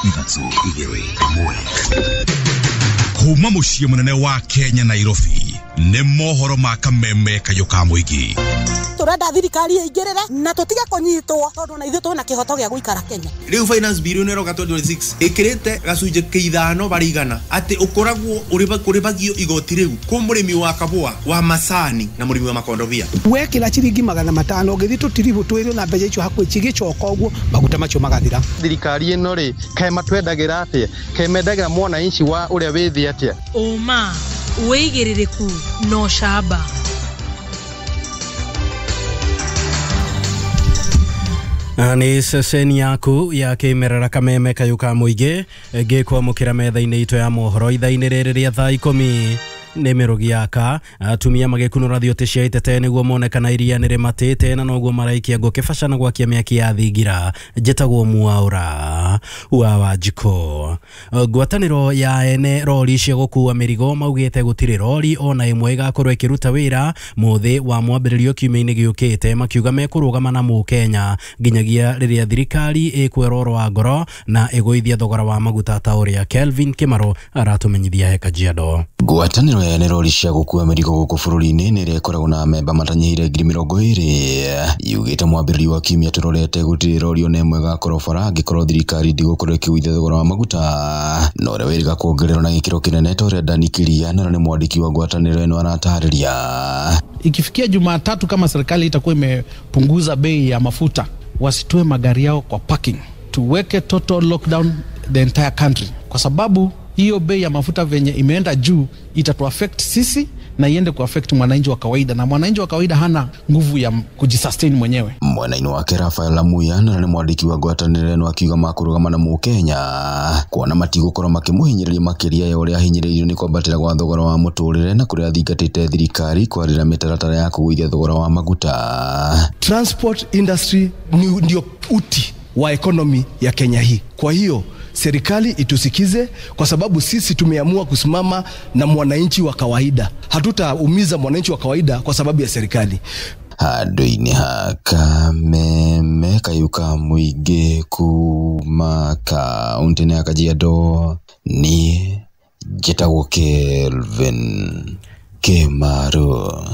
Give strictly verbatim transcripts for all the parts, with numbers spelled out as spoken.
Ithatũ, igĩrĩ, ĩmwe. Kuma mũciĩ mũnene wa Kenya, Nairobi, nĩ mohoro ma Kameme kayũ ka mũingĩ. Turenda thirikari ĩingĩrĩre na tũtige kũnyitwo tondũ na ithuĩ twĩna kĩhoto gĩa gũikara Kenya. Rĩu finance bill ĩno ĩroka twenty twenty-six ĩkĩrĩte gacunjĩ ka ithano barĩ igana atĩ ũkoragwo ũrĩbagio igoti rĩu kwĩ mũrĩmi wa kabũa wa macani na mũrĩmi wa makondobia. Wekĩra ciringi magana matano ũgĩthiĩ tũtiribũ twĩrĩ na mbeca icio hakuhĩ cigĩcoka ũguo maguta macio magathira. Thirikari ĩno rĩ, kaĩ matwendagĩra atĩa? Kaĩ mendagĩra mwananchi wa ũrĩa wĩ thĩ atĩa? Ũma, wĩigĩrĩrĩku na ũcamba. Nĩ ceceni yaku ya kĩmerera Kameme kayũ ka mũingĩ ngĩkwamũkĩra metha-inĩ itũ ya mohoro ithaa-inĩ rĩrĩ rĩa thaa ikũmi. Nĩ mĩrũgi yaka atumia magĩkunũra thiũtĩ cia itete nĩguo mone kana iria nĩ rĩmatĩte na noguo maraikia ngũ kĩbaca na gwakia mĩaki ya thingira. Njĩtagwo Mwaũra wa Wanjikũ. Ngwatanĩro ya ene rori cia gũkua mĩrigo maugĩte gũtirĩ rori ona ĩmwe ĩgakorwo ĩkĩruta wĩra mũthĩ wa mwambĩrĩrio kiumia-inĩ gĩũkĩte, makiuga mekũrũgama na mũkenya nginyagia rĩrĩa thirikari ĩkwerorwo wa ngoro na ĩgũithia thogora wa maguta, ta ũrĩa Kelvin Kimaro aratũmenyithia he Kajiado. Ngwatanĩro ya ene rori cia gũkua mĩrigo gũkũ bũrũri-inĩ nĩ ĩrĩa ĩkoragwo na amemba matanyihĩire ngiri mĩrongo ĩrĩ yugĩte mwambĩrĩrio wa kiumia tũrorete gũtirĩ rori ona ĩmwe ĩgakorwo bara angĩkorwo thirikari ndĩgũkorwo ĩkĩgũithia thogora wa maguta, na ũrĩa wĩrĩga kuongererwo na gĩkĩro kĩnene ta ũrĩa Dani Kiria na nĩ mwandĩki wa ngwatanĩro ĩno aratarĩria. Ikifikia Jumatatu, kama serikali itakuwa imepunguza bei ya mafuta, wasitoe magari yao kwa parking, tuweke total lockdown the entire country, kwa sababu hiyo bei ya mafuta venye imeenda juu itatu affect sisi na iende kuaffect mwananchi wa kawaida, na mwananchi wa kawaida hana nguvu ya kujisustain mwenyewe. Mwena-inĩ wake Rafael Lamuya na nĩ mwandĩki wa ngwatanĩro ĩno akiuga makũrũgama na mũkenya kuona matigũkorwo makĩmũhinyĩrĩria makĩria ya ũrĩa ahinyĩrĩirio nĩ kwambatĩra gwa thogora wa mũtũrĩre na kũrĩa athingatĩte thirikari kwarĩra mĩtaratara ya kũgũithia thogora wa maguta. Transport industry ni ndio uti wa economy ya Kenya hii. Kwa hiyo serikali itusikize, kwa sababu sisi tumeamua kusimama na mwananchi wa kawaida. Hatutaumiza mwananchi wa kawaida kwa sababu ya serikali. Handũ-inĩ ha Kameme kayũ ka mũingĩ kuma kaũntĩ-inĩ ya Kajiado, niĩ njĩtagwo Kelvin Kimaro.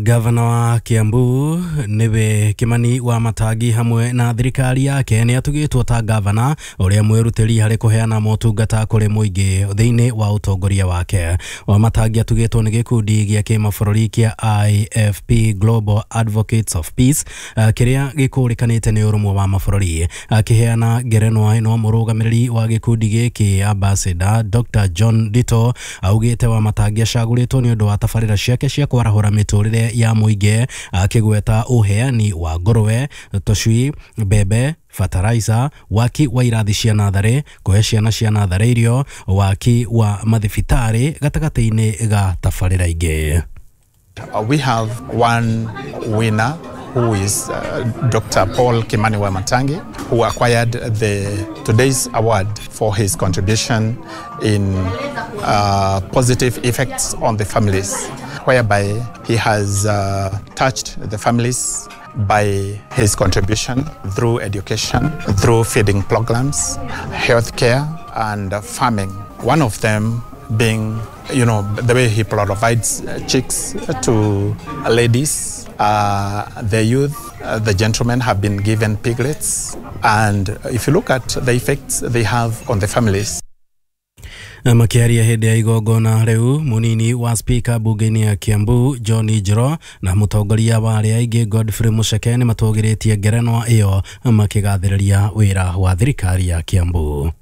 Gavana wa Kiambu nĩwe Kimani wa Matangi hamwe na thirikari yake nĩ atugĩtwo ta gavana ũrĩa mwĩrutĩri harĩ kũheana motungata kũrĩ mũingĩ thĩinĩ wa ũtongoria wake. Wa Matangi atugĩtwo nĩ gĩkundi gĩa kĩmabũrũri kĩa I F P Global Advocates of Peace, kĩrĩa gĩkũrĩkanĩte nĩ ũrũmwe wa mabũrũri. Akĩheana ngerenwa ĩno, mũrũgamĩrĩri wa gĩkundi gĩkĩ, Ambassador Doctor John Dito, augĩte wa Matangi acagũrĩtwo nĩ ũndũ wa tabarĩra ciake cia kwarahũra mĩtũrĩre ya mũingĩ, akĩgweta ũheani wa ngũrwe, tũcui, mbembe, fertilizer, waki wa irathi cia natharĩ, kũhe ciana cia natharĩ irio, waki wa mathibitarĩ gatagatĩ-inĩ ga tabarĩra ingĩ. Uh, we have one winner who is uh, Doctor Paul Kimani Wamatangi, who acquired the today's award for his contribution in uh, positive effects on the families, whereby he has uh, touched the families by his contribution through education, through feeding programs, healthcare, and farming. One of them being, you know, the way he provides chicks to ladies, uh, the youth, uh, the gentlemen have been given piglets. And if you look at the effects they have on the families, Makĩaria hĩndĩ ya igongona rĩu, mũnini wa spika bunge-inĩ ya Kiambu John Njoro na mũtongoria wa arĩa aingĩ Godfrey Mucheke nĩ matũgĩrĩtie ngerenwa ĩyo makĩgathĩrĩria wĩra wa thirikari ya Kiambu.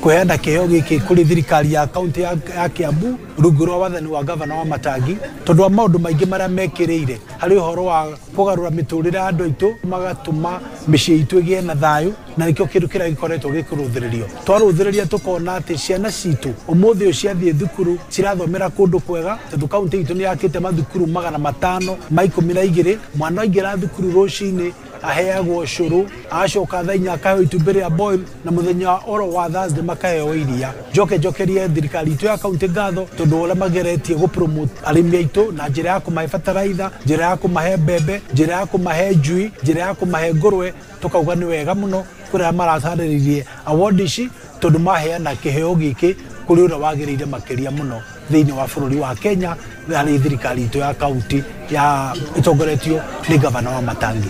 Kuheana kĩheo gĩkĩ kũrĩ thirikari ya kaunti ya, ya Kiambu rungu rwa wathani wa gavana wa Matangi tondũ wa maũndũ maingĩ marĩa mekĩrĩire harĩ ũhoro wa kũgarũra mĩtũrĩre ya andũ aitũ, magatũma mĩciĩ itũ ĩgĩe na thayũ, na nĩkĩo kĩndũ kĩrĩa gĩkoretwo gĩkĩrũthĩrĩrio. Twarũthĩrĩria tũkona atĩ ciana citũ ũmũthĩ ũyũ ciathiĩ thukuru cirathomera kũndũ kwega tondũ kaunti itũ nĩ yakĩte mathukuru magana matano ma ikũmi na igĩrĩ. Mwana aingĩra thukuru rũcinĩ Aheagwo cũrũ, agacoka thaa inya akaheo itumbĩ rĩa boil, na mũthenya oro wa Thursday makaheo iria. Njoke njokerie thirikari itũ ya kaunti ngatho tondũ ũrĩa mageretie gũ promote arĩmi aitũ na njĩra ya kũmahe bataraitha, njĩra ya kũmahe mbembe, njĩra ya kũmahe njui, njĩra ya kũmahe ngũrwe. Tukauga nĩ wega mũno kũrĩa maratarĩririe award ici tondũ maheana kĩheo gĩkĩ kũrĩ ũrĩa wagĩrĩire makĩria mũno thĩinĩ wa bũrũri wa Kenya harĩ thirikari itũ ya kaunti ya ĩtongoretio nĩ gavana wa Matangi.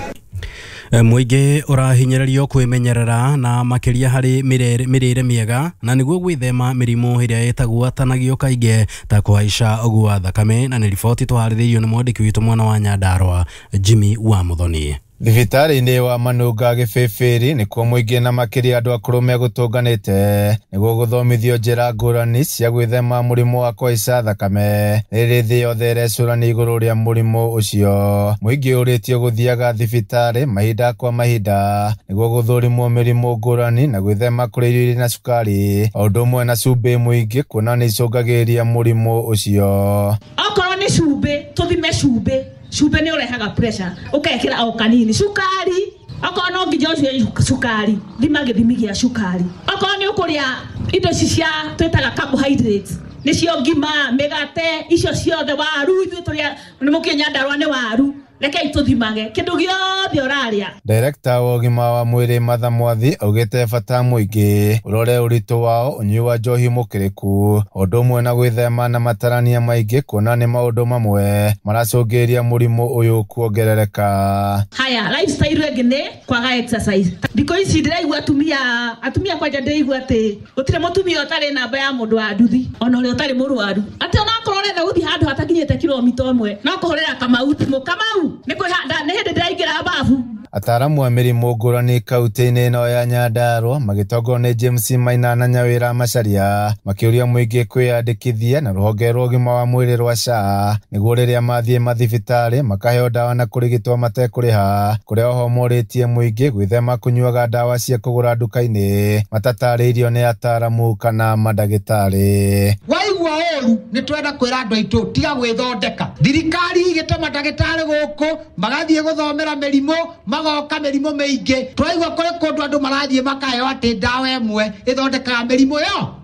Mũingĩ ũrahinyĩrĩrio kwĩmenyerera na makĩria harĩ mĩrĩre mĩega na nĩguo gwĩthema mĩrimũ ĩrĩa ĩtagwatanagio kaingĩ ta kũhaica gwa thakame, na nĩ riboti tũharĩrĩirio nĩ mwandĩki witũ mwena wa Nyandarua Jimmy wa Muthoni. Thibitarĩ-inĩ wa Manunga Gĩbĩbĩri nĩkuo mũingĩ na makĩria andũ akũrũ megũtũnganĩte nĩguo gũthomithio njĩra ngũrani cia gwĩthema mũrimũ wa kũhaica thakame. Rĩrĩ thĩ yothe ĩrecũrania igũrũ rĩa mũrimũ ũcio, mũingĩ ũrĩtio gũthiaga thibitarĩ mahinda kwa mahinda nĩguo gũthũrimwo mĩrimũ ngũrani na gwĩthema kũrĩa irio irĩ na cukari o ũndũ ũmwe na cumbĩ mũingĩ kuona nĩ icũngagĩrĩria mũrimũ ũcio. Okorwo nĩ cumbĩ, tũthime cumbĩ. Cumbĩ nĩ ũrehaga pressure, ũkekĩra o kanini. Cukari, okorwo no nginya ũcue cukari, thima gĩthimi gĩa cukari. Okorwo nĩ ũkũrĩa indo ici cia twĩtaga carbohydrates, nĩcio ngima, mĩgate, icio ciothe, waru, ithuĩ tũrĩa nĩ mũkĩĩ Nyandarua nĩ waru. Rekei tũthimage kĩndũ gĩothe ũrarĩa. Director wa ũgima wa mwĩrĩ Martha Mwathi augĩte bata mũingĩ ũrore ũritũ wao, ũnyui wa njohi mũkĩrĩku o ũndũ ũmwe na gwĩthema na matarania maingĩ kuona nĩ maũndũ mamwe maracũngĩrĩria mũrimũ ũyũ kuongerereka. Haya, lifestyle ĩngĩ nĩ kwaga exercise. Thikũ ici ndĩraigua atumia, atumia kwanja ndĩraigua atĩ gũtirĩ mũtumia ũtarĩ namba ya mũndũ wa nduthi ona ũrĩa ũtarĩ mũrwaru, atĩ onakorwo ũrenda gũthiĩ handũ hatakinyĩte kilomita ĩmwe no kũhũrĩra Kamau thimũ, Kamau nĩ kwĩhanda nĩ hĩndĩ ndĩraingĩra babu. Ataaramu a mĩrimũ ngũrani kaunti-inĩ ĩno ya Nyandarua magĩtongorio nĩ James Maina na Nyawĩra Macharia makĩũria mũingĩ kwĩyandĩkithia na rũhonge rwa ũgima wa mwĩrĩ rwa S H A nĩguo rĩrĩa mathiĩ mathibitarĩ makaheo ndawa na kũrigitwo matekũrĩha, kũrĩa oho morĩtie mũingĩ gwĩthema kũnyuaga ndawa cia kũgũra nduka-inĩ matatarĩirio nĩ ataaramu kana mandagĩtarĩ. Waigua ũru nĩ twenda kwĩra andũ aitũ tiga gwĩthondeka. Thirikari ĩgĩtũma ndagĩtarĩ gũkũ magathiĩ gũthomera mĩrimũ, magoka mĩrimũ mĩingĩ. Twaigua kũrĩ kũndũ andũ marathiĩ makaheo atĩ ndawa ĩmwe ĩthondekaga mĩrimũ yo.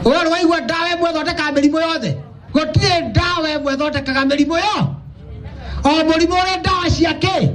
Ũyũ waigua ndawa ĩmwe ĩthondekaga mĩrimũ yothe? Gũtirĩ ndawa ĩmwe ĩthondekaga mĩrimũ yo. O mũrimũ ũrĩ ndawa ciake.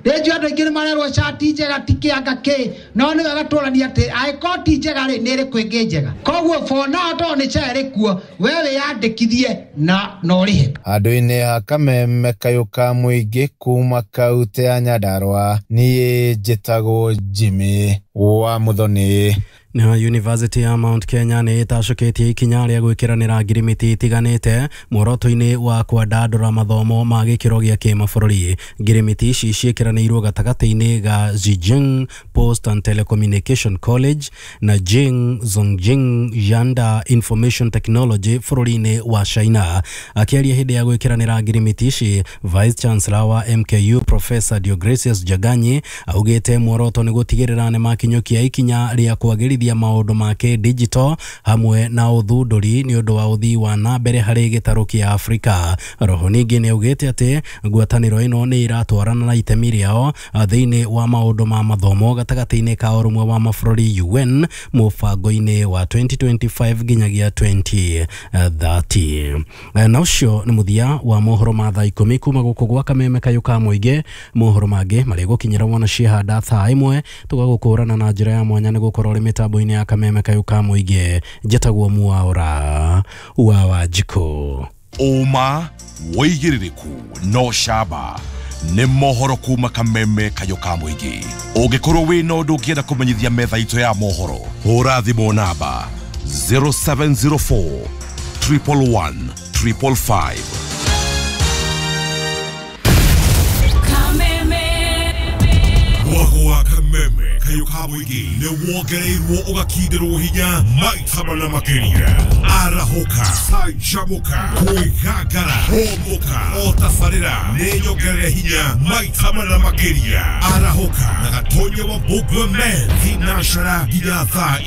Rĩnjũ andũ aingĩ nĩ marerwo cati njega ti kĩanga kĩ, no nĩ wega tũranie atĩ angĩkorwo ti njega rĩ, nĩ ĩrĩkũ ĩngĩ njega. Koguo for now tondũ nĩ SHA ĩrĩ kuo, we wĩyandĩkithie na na ũrĩhe. Handũ-inĩ ha kameme kayũ ka mũingĩ kuma kaunti ya Nyandarua, niĩ njĩtagwo Jimmy wa Muthoni. Na University ya Mount Kenya nĩ ĩtacũkĩtie ikinya rĩa gwĩkĩranĩra ngirimiti itiganĩte muoroto-inĩ wa kwandandũra mathomo ma gĩkĩro gĩa kĩmabũrũri. Ngirimiti ici ciĩkĩranĩirwo gatagatĩ-inĩ ga Zhejiang Post and Telecommunication College na Jing Zongjing Yanda Information Technology bũrũri-inĩ wa China. Akĩaria hĩndĩ ya gwĩkĩranĩra ngirimiti ici, Vice Chancellor wa M K U Professor Deogracius Jaganyi augĩte muoroto nĩ gũtigĩrĩra nĩ makinyũkia ikinya rĩa kwagĩrithia maũndũ ma kĩ-digital hamwe na ũthundũri nĩ ũndũ wa ũthii wa na mbere harĩ gĩtarũ kĩa Afrika. Roho ningĩ nĩ augĩte atĩ ngwatanĩro ĩno nĩ ĩratwarana na itemi rĩao thĩinĩ wa maũndũ ma mathomo gatagatĩ-inĩ ka ũrũmwe wa mabũrũri U N mũbango-inĩ wa twenty twenty-five nginyagia twenty thirty. Na ũcio nĩ mũthia wa mohoro ma thaa ikũmi kuma gũkũ gwa kameme kayũ ka mũingĩ. Mohoro mangĩ marĩgũkinyĩra wona ciahanda thaa ĩmwe tũgagũkũrana na njĩra ya mwanya nĩ gũkorwo ũrĩ mĩtambo mĩtambo-inĩ ya kameme kayũ ka mũingĩ. Njĩtagwo Mwaura wa Wanjikũ. Ũma wĩigĩrĩrĩku no camba nĩ mohoro kuma kameme kayũ ka mũingĩ. Ũngĩkorwo wĩna ũndũ ũngĩenda kũmenyithia metha itũ ya mohoro, hũra thimũ namba zero seven zero four triple one triple five. Mwago wa kameme kayũ ka mũingĩ nĩ wongereirwo ũgakindĩrwo hinya maita mana makĩria. Arahũka, canjamũka, kwĩgangara, hũmũka, o tabarĩra nĩ nyongerere hinya maita mana makĩria. Arahũka na Gatonya wa Bugwe Men, thinacara nginya thaa